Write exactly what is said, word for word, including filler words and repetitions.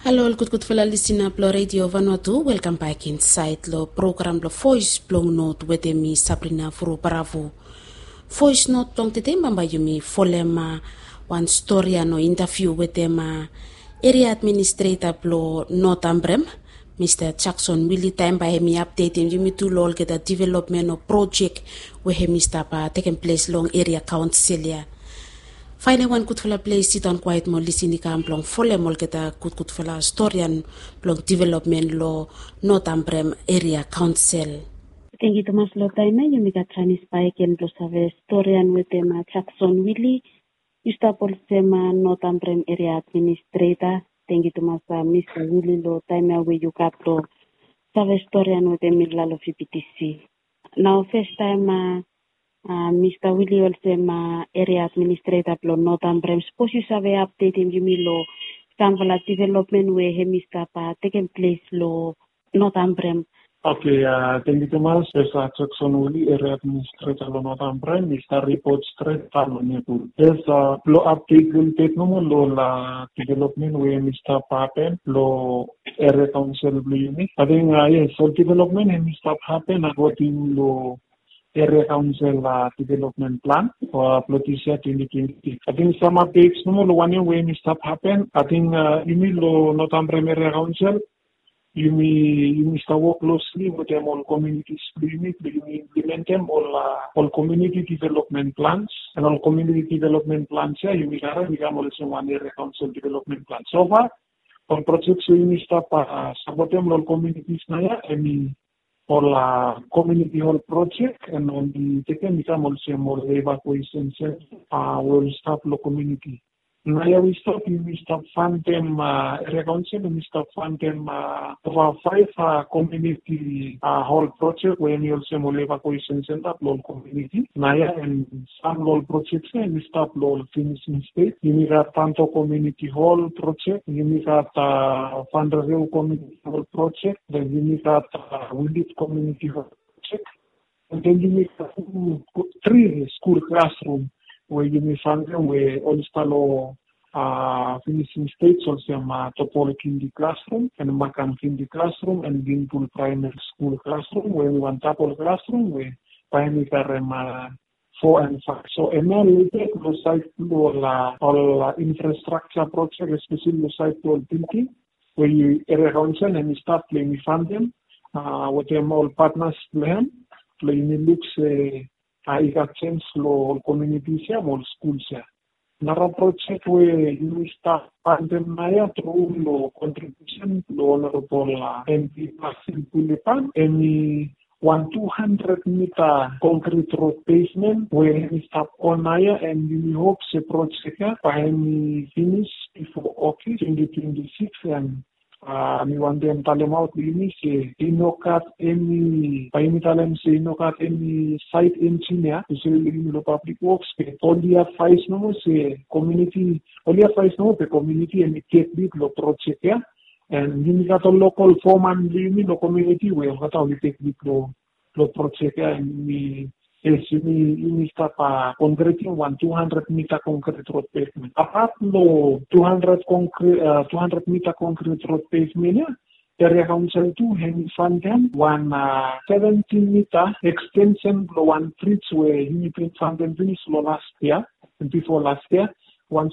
Halo ol gudgudfala lisina blong redio Vanuatu, welkam bak insaed long program blong Voes blong Not wetem mi, Sabrina Furu Baravu. Voes Not blong tede bambae yumi folem wan storian o intaviu wetem eria administreta blong Not Ambrem, Mista Jakson Wili, taem bae hemi apdetem yumi tu long olgeta developmen o projek we hemi stap tekem ples long eria kaonsel ya. Faenem wan gudfala ples, sidaon kwaet mo lisin i kam blong folem olgeta gudgudfala storian blong developmen long Not Ambrem eria kaonsel. Tangkiu tumas long taem ya yumi gat janis bakegen blong save storian wetem Jakson Wili. Yu stap olsem Not Ambrem eria administreta. Tangkiu tumas Mista Wili long taem ya we yu gat blong save storian wetem mi long V P T C. Nao festaem Mista Wili, olsem eria administreta blong Not Ambrem, sapos yu save apdetem yumi long samfala developmen we hemi stap tekem ples long Not Ambrem. Oke, tangkiu tumas. Mista Jakson Wili, eria administreta long Not Ambrem, mi stap ripot stret daon long Nepal. Yes, blong apdet lelebet nomo long ol developmen we hemi stap hapen long eria kaonsel blong yumi. Ating yes, ol developmen hemi stap hapen akoding long eria kaonsel developmen plan blong dis yia twenti twenti. Ating sam apdets nomo long wanem we hemi stap hapen. Ating yumi long Not Ambrem eria kaonsel, yumi yumi stap wok klosli wetem ol komunitis blong yumi blong yumi implementem ol ol komuniti developmen plans. And ol komuniti developmen plans ya yumi karem i kam olsem wan eria kaonsel developmen plan. So far ol projek we yumi stap sapotem long ol komunitis naoia hemi ol komuniti hol projek, and oli tekem i kam olsem ol evakuesen senta we oli stap long komuniti. Naoia we i stap yumi stap fandem, eria kaonsel hemi stap fandem ova faef komuniti hol projek we hemi olsem ol evakuesen senta blong ol komuniti. Naoia and sam long ol projek ya hemi stap long ol finising stej. Yumi gat Panto Komuniti Hol projek, yumi gat Fanreveu Komuniti Hol projek, then yumi gat Wilit Komuniti Hol projek. And then yumi gat tri skul klasrum we yumi fandem we oli stap long finising stej, olsem Topol Kindi klasrum and Makam Kindi klasrum and Binpul Praemari Skul klasrum we hemi wan tapol klasrum we bae hemi karem fo and faef. So hemia lelebet long saed blong ol infrastrakja projek, espeseli long saed blong ol bilding we eria kaonsel hemi stap blong yumi fandem wetem ol patnas blong hem blong yumi luk se i gat jenis long ol komunitis ya mo ol skuls ya. Nara projek we yumi stap fandem naoia tru long kontribiusen blong Honorabol M P Basil Kulipan, hemi wan tu handred mita konkrit rod pevmen we hemi stap on naoia, and yumi hop se projek ya bae hemi finis bifo Ogos twenti twenti sikis. And mi wantem talemaot long yumi se i no gat eni, bae yumi talem se i no gat eni saet enjin ya, espeseli long yumi long pablik woks, be oli advaes nomo se komuniti, oli advaes nomo be komuniti hemi tek lid long projek ya. And yumi gat ol lokol foman blong yumi long komuniti we olgeta oli tek lid long long projek ya. And yumi, yes, yumi yumi stap konkretim wan tu handred mita konkrit rod pevmen. Apat long tu handred konkrit, tu handred mita konkrit rod pevmen ya, eria kaonsel tu hemi fandem wan seventin mita ekstensen blong wan brij we yumi bin fandem finis long las yia, bifo las yia, wan